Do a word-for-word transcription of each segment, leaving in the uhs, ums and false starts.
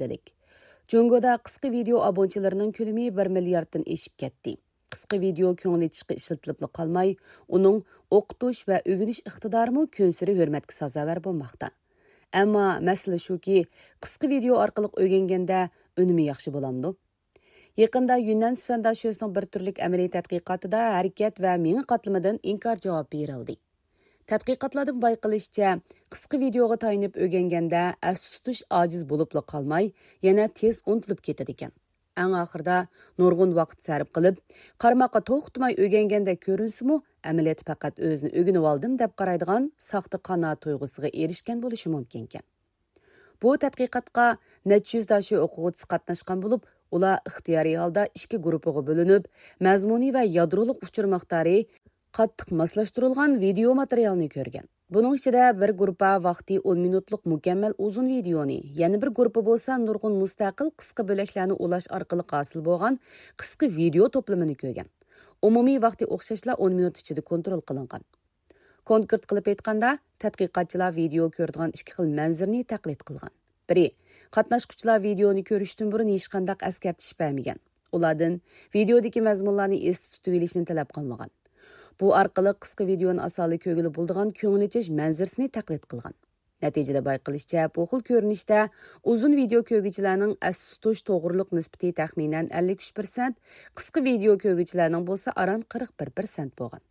ئىگىلىك. جۇڭگودا قىسقا ۋىدېئو ئابۇنىچىلىرىنىڭ كۆلىمى بىر مىلياردتىن ئېشىپ كەتتى. قىسقا ۋىدېئو كۆڭۈل ئېچىشقا ئىشلىتىلىپلا قالماي، ئۇنىڭ ئوقۇتۇش ۋە ئۆگىنىش ئىقتىدارىمۇ كۈنسېرى ھۆرمەتكە سازاۋەر بولماقتا. ئەمما مەسىلە شۇكى، قىسقا ۋىدېئو ئارقىلىق ئۆگەنگەندە ئۈنۈمى ياخشى بولامدۇ؟ يېقىندا يۈننەن سىفەنداشۆسنىڭ بىر تۈرلۈك ئەمەلىي تەتقىقاتىدا ھەرىكەت ۋە مېڭە قاتلىمىدىن ئىنكار جاۋابى بېرىلدى. تەتقىقاتلاردىن بايقىلىشىچە، قىسقا ۋىدېئوغا تايىنىپ ئۆگەنگەندە ئەستە تۇتۇش ئاجىز بولۇپلا قالماي، يەنە تېز ئۇنتۇلۇپ كېتىدىكەن. ئەڭ ئاخىرىدا نۇرغۇن ۋاقىت سەرپ قىلىپ، قارىماققا توختىماي ئۆگەنگەندەك كۆرۈنسىمۇ، ئەمەلىيەتتە پەقەت ئۆزىنى ئۆگىنىۋالدىم دەپ قارايدىغان ساختا قانائەت تۇيغۇسىغا ئېرىشكەن بولۇشى مۇمكىنكەن. بۇ تەتقىقاتقا نەچچە يۈز داشۆ ئوقۇغۇچىسى قاتناشقان بولۇپ، ئۇلار ئىختىيارىي ھالدا ئىككى گۇرۇپپىغا بۆلۈنۈپ، مەزمۇنى ۋە يادرولۇق ئۇچۇر مىقدارى قاتتىق ماسلاشتۇرۇلغان ۋىدېئو ماتېرىيالنى كۆرگەن. بۇنىڭ ئىچىدە بىر گۇرۇپپا ۋاقتى ئون مىنۇتلۇق مۇكەممەل ئۇزۇن ۋىدېئونى، يەنە بىر گۇرۇپپا بولسا نۇرغۇن مۇستەقىل قىسقا بۆلەكلەرنى ئۇلاش ئارقىلىق ھاسىل بولغان قىسقا ۋىدېئو توپلىمىنى كۆرگەن. ئومۇمىي ۋاقتى ئوخشاشلا ئون مىنۇت ئىچىدە كونترول قىلىنغان. كونكرېت قىلىپ ئېيتقاندا، تەتقىقاتچىلار ۋىدېئو كۆرىدىغان ئىككى خىل مەنزىرىنى تەقلىد قىلغان. بىرى، قاتناشقۇچىلار ۋىدېئونى كۆرۈشتىن بۇرۇن ھېچقانداق ئەسكەرتىش بەرمىگەن. ئۇلاردىن ۋىدېئودىكى مەزمۇنلارنى ئېستە تۇتۇۋېلىشنى تەلەپ قىلمىغان. بۇ ئارقىلىق قىسقا ۋىدېئونى ئاسانلا كۆرگىلى بولىدىغان كۆڭۈل ئېچىش مەنزىرىسىنى تەقلىد قىلغان. نەتىجىدە بايقىلىشىچە، بۇ خىل كۆرۈنۈشتە ئۇزۇن ۋىدېئو كۆرگۈچىلەرنىڭ ئەستە تۇتۇش توغرىلىق نىسبىتى تەخمىنەن ئەللىك ئۈچ پىرسەنت، قىسقا ۋىدېئو كۆرگۈچىلەرنىڭ بولسا ئاران قىرىق بىر پىرسەنت بولغان.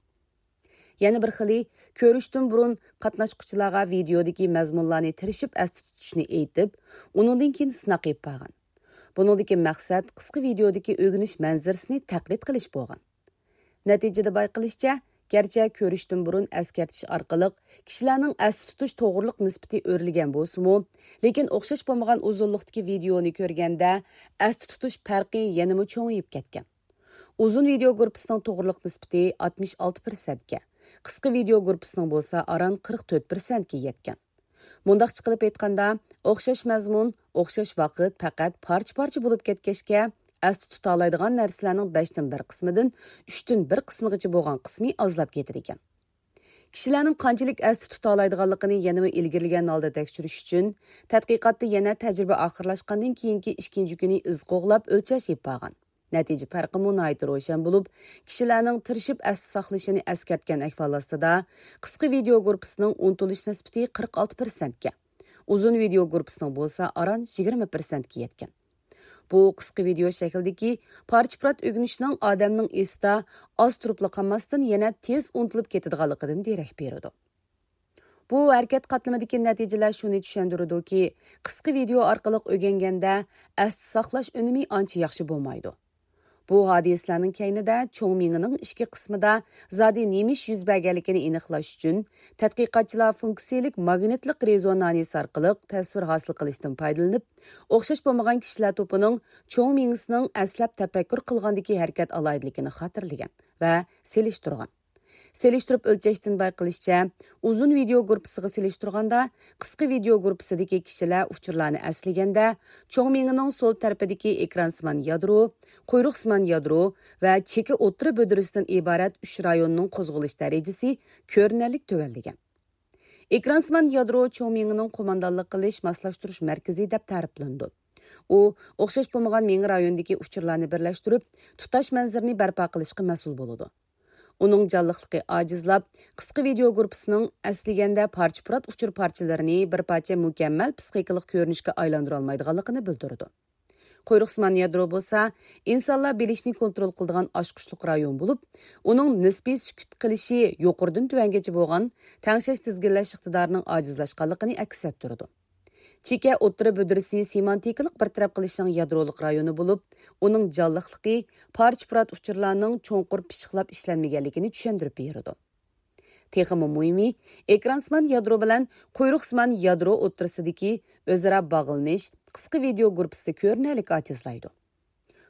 يەنە بىر خىلى، كۆرۈشتىن بۇرۇن قاتناشقۇچىلارغا ۋىدېئودىكى مەزمۇنلارنى تىرىشىپ ئەستە تۇتۇشنى ئېيتىپ، ئۇنىڭدىن كېيىن سىناق ئېلىپ بارغان. بۇنىڭدىكى مەقسەت قىسقا ۋىدېئودىكى ئۆگىنىش مەنزىرىسىنى تەقلىد قىلىش بولغان. نەتىجىدە بايقىلىشىچە، گەرچە كۆرۈشتىن بۇرۇن ئەسكەرتىش ئارقىلىق كىشىلەرنىڭ ئەستە تۇتۇش توغرىلىق نىسبىتى ئۆرلىگەن بولسىمۇ، لېكىن ئوخشاش بولمىغان ئۇزۇنلۇقتىكى ۋىدېئونى كۆرگەندە، ئەستە تۇتۇش پەرقى يەنىمۇ چوڭىيىپ كەتكەن. ئۇزۇن ۋىدېئو گۇرۇپپىسىنىڭ توغرىلىق نىسبىتى ئاتمىش ئالتە پىرسەنتكە، قىسقا ۋىدېئو گۇرۇپپىسىنىڭ بولسا ئاران قىرىق تۆت پىرسەنتكە يەتكەن. مۇنداقچە قىلىپ ئېيتقاندا، ئوخشاش مەزمۇن، ئوخشاش ۋاقىت پەقەت پارچە-پارچە بولۇپ كەتكەچكە، ئەستە تۇتالايدىغان نەرسىلەرنىڭ بەشتىن بىر قىسمىدىن ئۈچتىن بىر قىسمىغىچە بولغان قىسمى ئازلاپ كېتىدىكەن. كىشىلەرنىڭ قانچىلىك ئەستە تۇتالايدىغانلىقىنى يەنىمۇ ئىلگىرىلىگەن ھالدا تەكشۈرۈش ئۈچۈن، تەتقىقاتتا يەنە تەجرىبە ئاخىرلاشقاندىن كېيىنكى ئىككىنچى كۈنى ئىز قوغلاپ ئۆلچەش ئېلىپ بارغان. نەتىجە پەرقىمۇ ناھايىتى روشەن بولۇپ، كىشىلەرنىڭ تىرىشىپ ئەستە ساقلىشىنى ئەسكەرتكەن ئەھۋال ئاستىدا، قىسقا ۋىدېئو گۇرۇپپىسىنىڭ ئۇنتۇلۇش نىسبىتى قىرىق ئالتە پىرسەنتكە، ئۇزۇن ۋىدېئو گۇرۇپپىسىنىڭ بولسا ئاران يىگىرمە پىرسەنتكە يەتكەن. بۇ قىسقا ۋىدېئو شەكلىدىكى پارچە-پۇرات ئۆگىنىشنىڭ ئادەمنىڭ ئېسىدا ئاز تۇرۇپلا قالماستىن، يەنە تېز ئۇنتۇلۇپ كېتىدىغانلىقىدىن دېرەك بېرىدۇ. بۇ ھەرىكەت قاتلىمىدىكى نەتىجىلەر شۇنى چۈشەندۈرىدۇكى، قىسقا ۋىدېئو ئارقىلىق ئۆگەنگەندە ئەستە ساقلاش ئۈنۈمى ئانچە ياخشى بولمايدۇ. بۇ ھادىسىلەرنىڭ كەينىدە چوڭ مېڭىنىڭ ئىچكى قىسمىدا زادى نېمە ئىش يۈز بەرگەنلىكىنى ئېنىقلاش ئۈچۈن، تەتقىقاتچىلار فۇنكسىيىلىك ماگنىتلىق رېزونانس ئارقىلىق تەسۋىر ھاسىل قىلىشتىن پايدىلىنىپ، ئوخشاش بولمىغان كىشىلەر توپىنىڭ چوڭ مېڭىسىنىڭ ئەسلەپ تەپەككۇر قىلغاندىكى ھەرىكەت ئالاھىدىلىكىنى خاتىرىلىگەن ۋە سېلىشتۇرغان. سېلىشتۇرۇپ ئۆلچەشتىن بايقىلىشىچە، ئۇزۇن ۋىدېئو گۇرۇپپىسىغا سېلىشتۇرغاندا، قىسقا ۋىدېئو گۇرۇپپىسىدىكى كىشىلەر ئۇچۇرلارنى ئەسلىگەندە، چوڭ مېڭىنىڭ سول تەرىپىدىكى ئېكرانسىمان يادرو، قۇيرۇقسىمان يادرو ۋە چېكە ئوتتۇرا بۆدرىسىدىن ئىبارەت ئۈچ رايوننىڭ قوزغىلىش دەرىجىسى كۆرۈنەرلىك تۆۋەنلىگەن. ئېكرانسىمان يادرو چوڭ مېڭىنىڭ قوماندانلىق قىلىش ماسلاشتۇرۇش مەركىزى دەپ تەرىپلىنىدۇ. ئۇ ئوخشاش بولمىغان مېڭە رايونىدىكى ئۇچۇرلارنى بىرلەشتۈرۈپ، تۇتاش مەنزىرىنى بەرپا قىلىشقا مەسئۇل بولىدۇ. ئۇنىڭ جانلىقلىقى ئاجىزلاپ، قىسقا ۋىدېئو گۇرۇپپىسىنىڭ ئەسلىگەندە پارچە-پۇرات ئۇچۇر پارچىلىرىنى بىر پارچە مۇكەممەل پسىخىكىلىق كۆرۈنۈشكە ئايلاندۇرالمايدىغانلىقىنى بىلدۈرىدۇ. قۇيرۇقسىمان يادرو بولسا ئىنسانلار بىلىشنى كونترول قىلىدىغان ئاچقۇچلۇق رايون بولۇپ، ئۇنىڭ نىسپىي سۈكۈت قىلىشى يۇقىرىدىن تۆۋەنگىچە بولغان تەڭشەش تىزگىنلەش ئىقتىدارىنىڭ ئاجىزلاشقانلىقىنى ئەكس ئەتتۈرىدۇ. چېكە ئوتتۇرا بۆدرىسى سېمانتىكىلىق بىر تەرەپ قىلىشنىڭ يادرولۇق رايونى بولۇپ، ئۇنىڭ جانلىقلىقى پارچە-پۇرات ئۇچۇرلارنىڭ چوڭقۇر پىششىقلاپ ئىشلەنمىگەنلىكىنى چۈشەندۈرۈپ بېرىدۇ. تېخىمۇ مۇھىمى، ئېكرانسىمان يادرو بىلەن قۇيرۇقسىمان يادرو ئوتتۇرىسىدىكى ئۆزئارا باغلىنىش قىسقا ۋىدېئو گۇرۇپپىسىدا كۆرۈنەرلىك ئاجىزلايدۇ.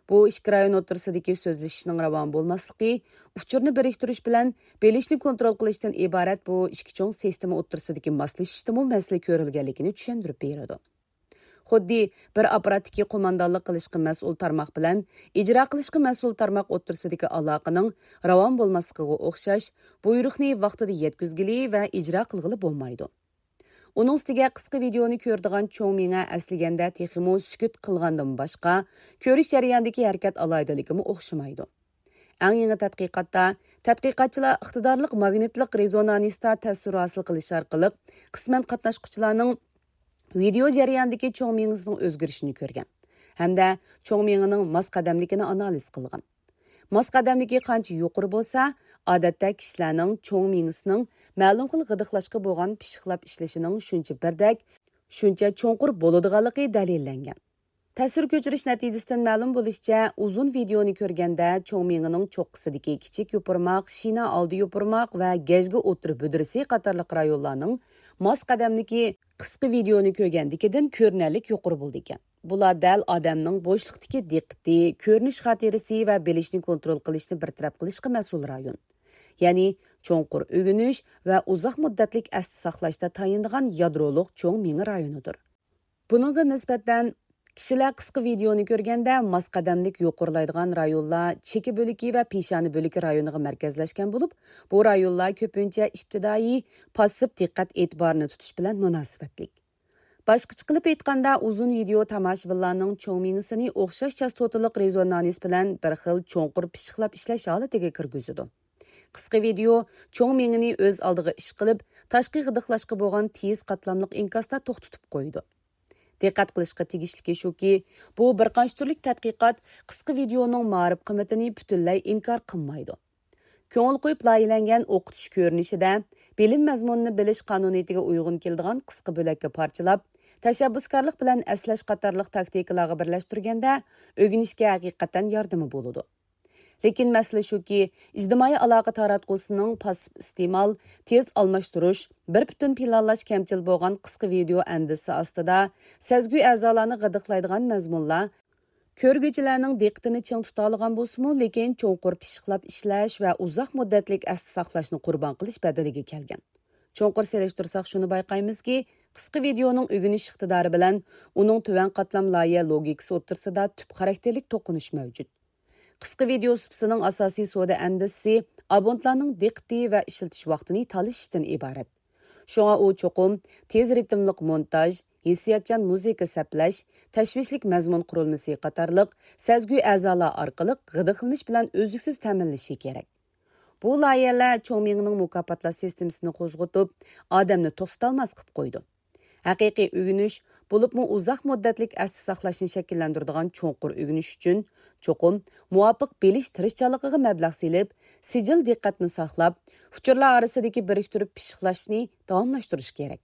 بۇ ئىككى رايون ئوتتۇرىسىدىكى سۆزلىشىشنىڭ راۋان بولماسلىقى، ئۇچۇرنى بىرىكتۈرۈش بىلەن بىلىشنى كونترول قىلىشتىن ئىبارەت بۇ ئىككى چوڭ سىستېما ئوتتۇرىسىدىكى ماسلىشىشتىمۇ مەسىلە كۆرۈلگەنلىكىنى چۈشەندۈرۈپ بېرىدۇ. خۇددى بىر ئاپپاراتتىكى قوماندانلىق قىلىشقا مەسئۇل تارماق بىلەن ئىجرا قىلىشقا مەسئۇل تارماق ئوتتۇرىسىدىكى ئالاقىنىڭ راۋان بولماسلىقىغا ئوخشاش، بۇيرۇقنى ۋاقتىدا يەتكۈزگىلى ۋە ئىجرا قىلغىلى بولمايدۇ. ئۇنىڭ ئۈستىگە قىسقا ۋىدېئونى كۆرىدىغان چوڭ مېڭە ئەسلىگەندە تېخىمۇ سۈكۈت قىلغاندىن باشقا، كۆرۈش جەريانىدىكى ھەرىكەت ئالاھىدىلىكىمۇ ئوخشىمايدۇ. ئەڭ يېڭى تەتقىقاتتا تەتقىقاتچىلار ئىقتىدارلىق ماگنىتلىق رېزونانستا تەسىر ھاسىل قىلىش ئارقىلىق قىسمەن قاتناشقۇچىلارنىڭ ۋىدېئو جەريانىدىكى چوڭ مېڭىسىنىڭ ئۆزگىرىشىنى كۆرگەن ھەمدە چوڭ مېڭىنىڭ ماس قەدەملىكىنى ئانالىز قىلغان. ماس قەدەملىكى قانچە يۇقىرى بولسا، ئادەتتە كىشىلەرنىڭ چوڭ مېڭىسىنىڭ مەلۇم خىل غىدىقلاشقا بولغان پىششىقلاپ ئىشلىشىنىڭ شۇنچە بىردەك، شۇنچە چوڭقۇر بولىدىغانلىقى دەلىللەنگەن. تەسىر كۆچۈرۈش نەتىجىسىدىن مەلۇم بولۇشىچە، ئۇزۇن ۋىدېئونى كۆرگەندە چوڭ مېڭىنىڭ چوققىسىدىكى كىچىك يوپۇرماق، شىنا ئالدى يوپۇرماق ۋە گەجگە ئوتتۇرا بۈدرىسى قاتارلىق رايونلارنىڭ ماس قەدەملىكى قىسقا ۋىدېئونى كۆرگەندىكىدىن كۆرۈنەرلىك يۇقىرى بولىدىكەن. بۇلار دەل ئادەمنىڭ بوشلۇقتىكى دىققىتى، كۆرۈنۈش خاتىرىسى ۋە بىلىشنى كونترول قىلىشنى بىر تەرەپ قىلىشقا مەسئۇل رايون. يەنى چوڭقۇر ئۆگىنىش ۋە ئۇزاق مۇددەتلىك ئەستە ساقلاشتا تايىنىدىغان يادرولۇق چوڭ مېڭە رايونىدۇر. بۇنىڭغا نىسبەتەن، كىشىلەر قىسقا ۋىدېئونى كۆرگەندە ماس قەدەملىك يۇقىرىلايدىغان رايونلار چېكە بۆلىكى ۋە پېشانە بۆلىكى رايونىغا مەركەزلەشكەن بولۇپ، بۇ رايونلار كۆپىنچە ئىپتىدائىي پاسسىپ دىققەت ئېتىبارىنى تۇتۇش بىلەن مۇناسىۋەتلىك. باشقىچە قىلىپ ئېيتقاندا، ئۇزۇن ۋىدېئو تاماشىبىنلارنىڭ چوڭ مېڭىسىنى ئوخشاش چاستوتىلىق رېزونانس بىلەن بىر خىل چوڭقۇر پىششىقلاپ ئىشلەش ھالىتىگە كىرگۈزىدۇ. قىسقا ۋىدېئو چوڭ مېڭىنى ئۆز ئالدىغا ئىش قىلىپ، تاشقى غىدىقلاشقا بولغان تېيىز قاتلاملىق ئىنكاستا توختىتىپ قويىدۇ. دىققەت قىلىشقا تېگىشلىكى شۇكى، بۇ بىر قانچە تۈرلۈك تەتقىقات قىسقا ۋىدېئونىڭ مائارىپ قىممىتىنى پۈتۈنلەي ئىنكار قىلمايدۇ. كۆڭۈل قويۇپ لايىھەلەنگەن ئوقۇتۇش كۆرۈنۈشىدە بىلىم مەزمۇنىنى بىلىش قانۇنىيىتىگە ئۇيغۇن كېلىدىغان قىسقا بۆلەككە پارچىلاپ، تەشەببۇسكارلىق بىلەن ئەسلەش قاتارلىق تاكتىكىلارغا بىرلەشتۈرگەندە، ئۆگىنىشكە ھەقىقەتەن ياردىمى بولىدۇ. لېكىن مەسىلە شۇكى، ئىجتىمائىي ئالاقە تاراتقۇسىنىڭ پاسسىپ ئىستېمال، تېز ئالماشتۇرۇش، بىر پۈتۈن پىلانلاش كەمچىل بولغان قىسقا ۋىدېئو ئەندىزىسى ئاستىدا سەزگۈ ئەزالارنى غىدىقلايدىغان مەزمۇنلار كۆرگۈچىلەرنىڭ دىققىتىنى چىڭ تۇتالىغان بولسىمۇ، لېكىن چوڭقۇر پىششىقلاپ ئىشلەش ۋە ئۇزاق مۇددەتلىك ئەستە ساقلاشنى قۇربان قىلىش بەدىلىگە كەلگەن. چوڭقۇر سېلىشتۇرساق شۇنى بايقايمىزكى، قىسقا ۋىدېئونىڭ ئۆگىنىش ئىقتىدارى بىلەن ئۇنىڭ تۆۋەن قاتلام لايىھە لوگىكىسى ئوتتۇرىسىدا تۈپ خاراكتېرلىك توقۇنۇش مەۋجۇت. قىسقا ۋىدېئو سۇپىسىنىڭ ئاساسىي سودا ئەندىزىسى ئابونتلارنىڭ دىققىتى ۋە ئىشلىتىش ۋاقتىنى تالىشىشتىن ئىبارەت. شۇڭا ئۇ چوقۇم تېز رىتىملىق مونتاژ، ھېسسىياتچان مۇزىكا سەپلەش، تەشۋىشلىك مەزمۇن قۇرۇلمىسى قاتارلىق سەزگۈ ئەزالار ئارقىلىق غىدىقلىنىش بىلەن ئۈزلۈكسىز تەمىنلىشى كېرەك. بۇ لايىھەلەر چوڭ مېڭىنىڭ مۇكاپاتلاش سىستېمىسىنى قوزغىتىپ، ئادەمنى توختىتالماس قىلىپ قويىدۇ. ھەقىقىي ئۆگىنىش، بولۇپمۇ ئۇزاق مۇددەتلىك ئەستە ساقلاشنى شەكىللەندۈرىدىغان چوڭقۇر ئۆگىنىش ئۈچۈن، چوقۇم مۇۋاپىق بىلىش تىرىشچانلىقىغا مەبلەغ سېلىپ، سىجىل دىققەتنى ساقلاپ، ئۇچۇرلار ئارىسىدىكى بىرىكتۈرۈپ پىششىقلاشنى داۋاملاشتۇرۇش كېرەك.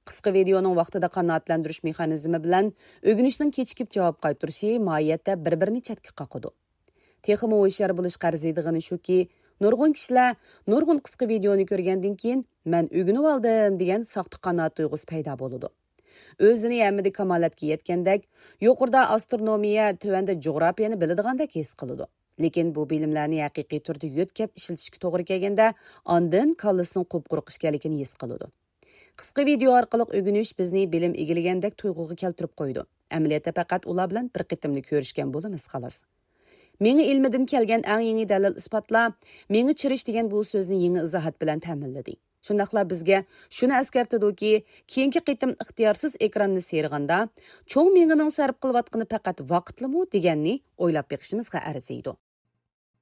قىسقا ۋىدېئونىڭ ۋاقتىدا قانائەتلەندۈرۈش مېخانىزمى بىلەن ئۆگىنىشنىڭ كېچىكىپ جاۋاب قايتۇرۇشى ماھىيەتتە بىر-بىرىنى چەتكە قاقىدۇ. تېخىمۇ ھوشيار بولۇشقا ئەرزىيدىغىنى شۇكى، نۇرغۇن كىشىلەر نۇرغۇن قىسقا ۋىدېئونى كۆرگەندىن كېيىن، مەن ئۆگىنىۋالدىم دېگەن ساختا قانائەت تۇيغۇسى پەيدا بولىدۇ. ئۆزىنى ھەممىدە كامالەتكە يەتكەندەك، يۇقىرىدا ئاسترونومىيە، تۆۋەندە جۇغراپىيەنى بىلىدىغاندەك ھېس قىلىدۇ. لېكىن بۇ بىلىملەرنى ھەقىقىي تۈردە يۆتكەپ ئىشلىتىشكە توغرا كەلگەندە، ئاندىن كاللىسىنىڭ قۇپقۇرۇق ئىكەنلىكىنى ھېس قىلىدۇ. قىسقا ۋىدېئو ئارقىلىق ئۆگىنىش بىزنى بىلىم ئىگىلىگەندەك تۇيغۇغا كەلتۈرۈپ قويىدۇ. ئەمەلىيەتتە پەقەت ئۇلار بىلەن بىر قېتىملا كۆرۈشكەن بولىمىز، خالاس. مېڭە ئىلمىدىن كەلگەن ئەڭ يېڭى دەلىل-ئىسپاتلار مېڭە چىرىش دېگەن بۇ سۆزنى يېڭى ئىزاھات بىلەن تەمىنلىدى. شۇنداقلا بىزگە شۇنى ئەسكەرتىدۇكى، كېيىنكى قېتىم ئىختىيارسىز ئېكراننى سىيرىغاندا، چوڭ مېڭىنىڭ سەرپ قىلىۋاتقىنى پەقەت ۋاقىتلىمۇ دېگەننى ئويلاپ بېقىشىمىزغا ئەرزىيدۇ.